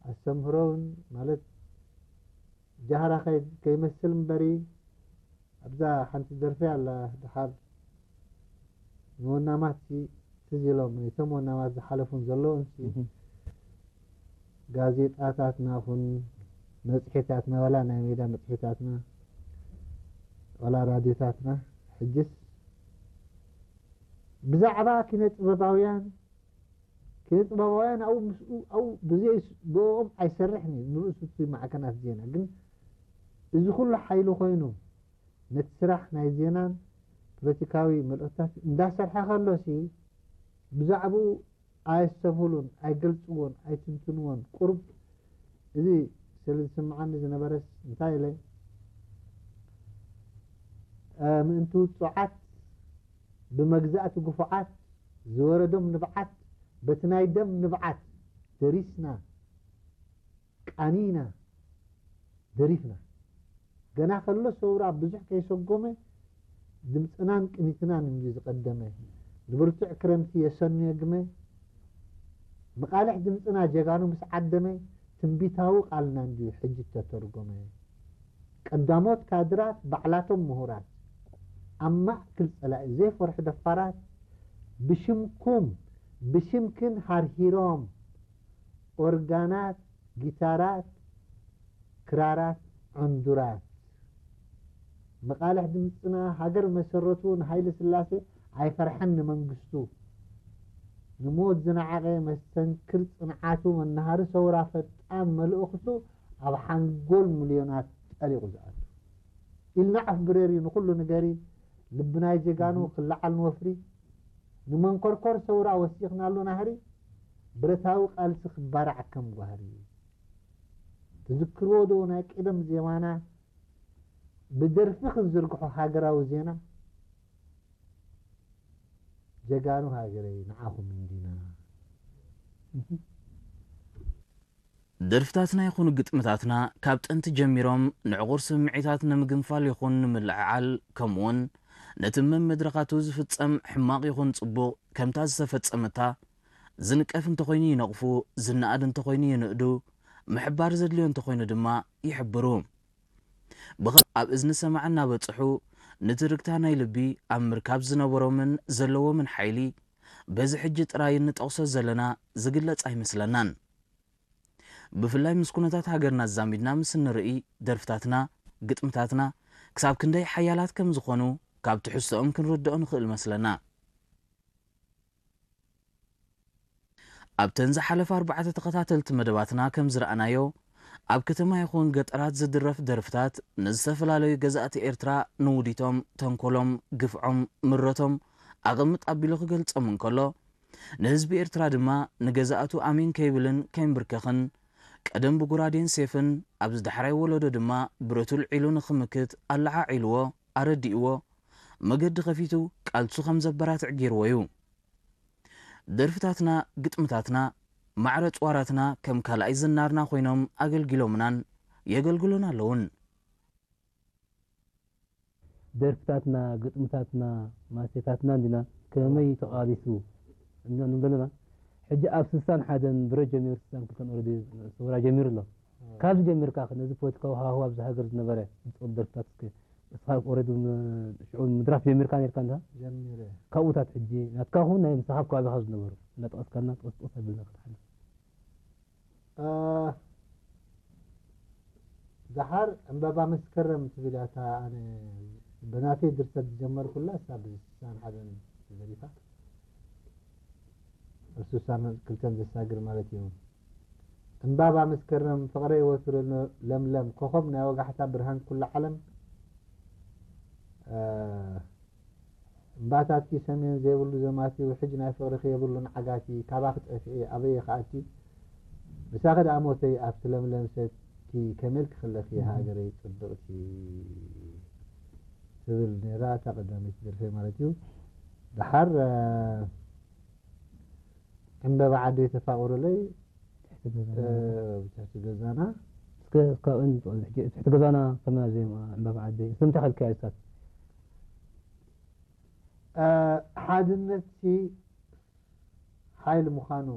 ኣስተምህሮ እውን ማለት ጃህራ ከይ- ከይመስል እምበሪ ኣብዛ ሓንቲ ደርፊ ኣላ ድሓር ንወናማት ሲ ትዝ ኢሎም እቶም ወናማት ዝሓለፉን ዘለውን ሲ ጋዜጣታትና ኹን መፅሄታትና ዋላ ናይ ሜዳ መፅሄታትና ዋላ ራድዮታትና ሕጅስ ብዛዕባ ኪነ ጥበባውያን ኪነ ጥበባውያን ኣብኡ ምስኡ ኣብኡ ብዘይ ብኦም ኣይሰርሕን እዩ ንርእሱ እቲ ማዕከናት ዜና ግን እዚ ኩሉ ሓይሊ ኮይኑ ነቲ ስራሕ ናይ ዜናን ፖለቲካዊ መልእኽታት እንዳሰርሐ ከሎሲ ብዛዕባኡ ኣየስተብህሉን ኣይገልፅዎን ኣይትንትንዎን ቁሩብ እዚ ስለ ዝስምዓኒ ዝነበረስ እንታይ ኢለ ምእንቲ ውፁዓት ብመግዛእቲ ግፉዓት ዝወረዶም ንብዓት በቲ ናይ ደም ንብዓት ደሪስና ቃኒና ደሪፍና ገና ከሎ ሰውራ ብዙሕ ከይሰጎመ ድምፅናን ቅኒትናን እንድዩ ዝቐደመ ንብርቱዕ ክረምቲ የሰንዮ ግመ መቓልሕ ድምፅና ጀጋኑ ምስ ዓደመ ትንቢታዊ ቃልና እንድዩ ሕጂ ተተርጎመ ቀዳሞት ካድራት ባዕላቶም ምሁራት ኣብ ማእክል ፀላኢ ዘይፈርሑ ደፋራት ብሽምኩም ብሽምክን ሃርሂሮም ኦርጋናት ጊታራት ክራራት ዕንዱራት መቓልሕ ድምፅና ሃገር መሰረቱ ንሃይለ ስላሴ ኣይፈርሐን ንመንግስቱ ንሞት ዝነዓቐ መስተንክር ፅንዓቱ መናሃሪ ሰውራ ፈጣን መልእኽቱ ኣብ ሓንጎል ሚልዮናት ጠሊቑ ዝኣቱ ኢልና ኣፍ ብረሪ ንኹሉ ንገሪ ልቢ ናይ ጀጋኑ ክለዓል ንወፍሪ ንመንኮርኮር ሰውራ ወሲኽናሉ ናህሪ ብረታዊ ቃልሲ ክባራዕ ከም ጓህሪ ትዝክርዎ ዶ ናይ ቀደም ዜማና ብደርፊ ክንዝርግሖ ሃገራዊ ዜና ጀጋኑ ሃገረይ ንዓኹም እንዲና ደርፍታትና ይኹኑ ግጥምታትና ካብ ጥንቲ ጀሚሮም ንዕቑር ስምዒታት ንምግንፋል ይኹን ንምልዕዓል ከምኡውን ነቲ መመድረኻቱ ዝፍጸም ሕማቕ ይኹን ጽቡቕ ከምታ ዝተፈጸመታ ዝንቀፍ እንተኾይኑ ይነቕፉ፣ ዝነኣድ እንተኾይኑ ይንእዱ፣ ምሕባር ዘድልዮ እንተኾይኑ ድማ ይሕብሩ። ብኸ ኣብ እዝኒ ሰማዒ እናበጽሑ ንትርግታ ናይ ልቢ ኣብ ምርካብ ዝነበሮምን ዘለዎምን ሓይሊ በዚ ሕጂ ጥራይ እንጠቕሶ ዘለና ዝግለጽ ኣይመስለናን። ብፍላይ ምስ ኩነታት ሃገርና ኣዛሚድና ምስ እንርኢ ደርፍታትና፣ ግጥምታትና ክሳብ ክንደይ ሓያላት ከም ዝኾኑ ካብ ትሕዝቶኦም ክንርድኦ ንኽእል መስለና። ኣብተን ዝሓለፋ ኣርባዕተ ተኸታተልቲ መደባትና ከም ዝረኣናዮ፣ ኣብ ከተማ ይኹን ገጠራት ዝድረፍ ደርፍታት ንዝተፈላለዩ ገዛእቲ ኤርትራ ንውዲቶም፣ ተንኮሎም፣ ግፍዖም፣ ምረቶም ኣቐምጥ ኣቢሉ ክገልጾም እንከሎ፣ ንህዝቢ ኤርትራ ድማ ንገዛእቱ ኣሜን ከይብልን ከይንብርከኽን፣ ቀደም ብጉራዴን ሴፍን ኣብዚ ዳሕራይ ወለዶ ድማ ብረቱ ኣልዒሉ ንኽምክት ኣለዓዒልዎ፣ ኣረዲእዎ፣ መገዲ ኸፊቱ ቃልሱ ከም ዘበራትዕ ገይርዎ እዩ። ደርፍታትና፣ ግጥምታትና፣ ማዕረ ኣጽዋራትና ከም ካልኣይ ዝናርና ኮይኖም ኣገልጊሎምናን የገልግሉን ኣለዉን። ደርፍታትና፣ ግጥምታትና፣ ማስቴታትና እንዲና ከመይ ተቓሊሱ እንብለና ሕጂ ኣብ ስሳን ሓደን ብረት ጀሚሩ ስሳን ክልተን ኦረዲ ሰውራ ጀሚሩ ኣሎ። ካብዚ ጀሚርካ ነዚ ፖለቲካዊ ሃዋህው ኣብዚ ሃገር ዝነበረ ዝፀሉ ደርፍታት እስከ እስኻ ኦረዲ ሽዑ ምድራፍ ጀሚርካ ነርካ እንዳ ጀሚረ ካብኡታት ሕጂ ናትካ ኹን ናይ ምሳኻ ኣብ ከባቢኻ ዝነበሩ እናጠቐስካልና ጠስጠስ ኣቢልና ክትሓልፍ ደሓር ዕምበባ መስከረም ትብል እያ እታ ኣነ ብናተይ ድርሰት ዝጀመርኩላ እሳ ብስሳን ሓደን ተደሪፋ ኣብ ስሳን ክልተን ዘሳግር ማለት እዩ ዕምባባ መስከረም ፍቕረይ ወትሩ ለምለም ኮኾብ ናይ ወጋሕታ ብርሃን ኩላ ዓለም እምባታትኪ ሰሜን ዘይብሉ ዘማቲ ውሕጅ ናይ ፍቕርኺ የብሉን ዓጋቲ ካባኺ ጠፊኤ ኣበይ እየ ክኣቲ ምሳኺ ደኣ ሞተይ ኣብቲ ለምለም ሰቲ ከመይ ኢልኪ ከለኺ ሃገረይ ጽብቕቲ ትብል ነይራ እታ ቀዳመይቲ ደርፈይ ማለት እዩ ደሓር ዕምበባ ዓደይ ተፋቕሩለይ ብትሕቲ ገዛና እስከ ካብእን ትሕቲ ገዛና ከመ ዜማ ዕምበባ ዓደይ ስም ተኸልከያ ይሳት ሓድነት ሲ ሓይሊ ምዃኑ